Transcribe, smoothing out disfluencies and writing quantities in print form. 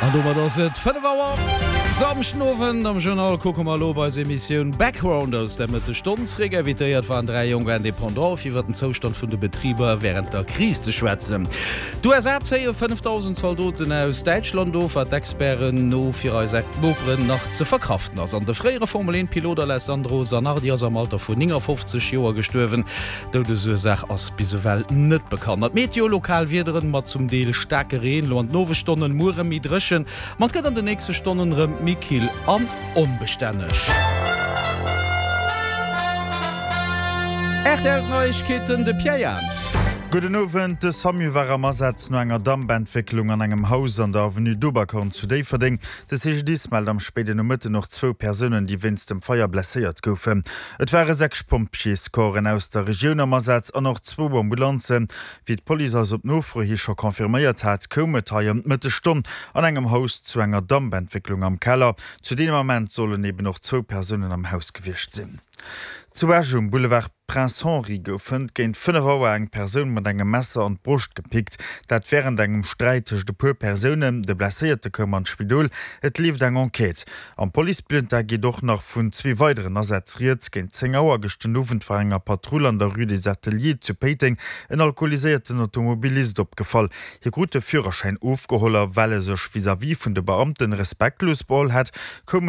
An domat ass et 5 Auer Samschden Owend. Am Journal kucke mer elo op eis Emissioun Background aus der Mëttesstonn zréck. Invitéiert waren 3 jonk Indépendants fir iwwer den Zoustand vun de Betriber wärend der Kris ze schwätzen. D'USA zéie 5.000 Zaldoten aus Däitschland of, wat Experten no fir eis Noperen nach ze verkraften ass. An de fréiere Formel 1 Pilot Alessandro Zanardi ass am Alter vun 59 Joer gestuerwen. D'Doudesursaach ass bis ewell net bekannt. An d'Meteo, Lokal Wiederen mat zum Deel staarke Reen elo an den Owesstonnen, muer rëm méi dréchen, ma et gëtt an de nächste Stonnen rëm méi kill an onbestänneg. Rtl Neiegkeeten, de Pierre Jans. Gudden Owend. De Samu war am Asaz no enger Dampentwécklung an engem Haus an der Avenue d'Oberkorn zu Déifferdeng. De CGDIS mellt am spéiden Nomëtten och zwou Persounen, déi wéinst dem Feier blesséiert goufen. Et ware 6 Pompjeescorpsen aus der Regioun am Asaz an och zwou Ambulanzen. Wéi d'Police eis op Nofro hi scho confirméiert hat, koum et hei ëm d'Mëttesstonn an engem Haus zu enger Dampentwécklung am Keller. Zu deem Ament sollen eben och zwou Persounen am Haus gewiescht sinn. Zu Esch um Boulevard Prince Henri gouf hënt géint 5 Auer eng Persoun mat engem Messer an d'Broscht gepickt. Dat wärend engem Sträit tëscht e puer Persounen. De Blesséierte koum an d'Spidol. Et leeft eng Enquête. Am Policebulletin geet och nach vun zwee weideren Asätz rieds. Géint 10 Auer gëscht den Owend war enger Patrull an der Rue des Ateliers zu Péiteng en alkoholiséierten Automobilist opgefall. Hie krut de Führerschäin ofgeholl a well e sech vis-à-vis vun de Beamten respektlos beholl hätt, koum.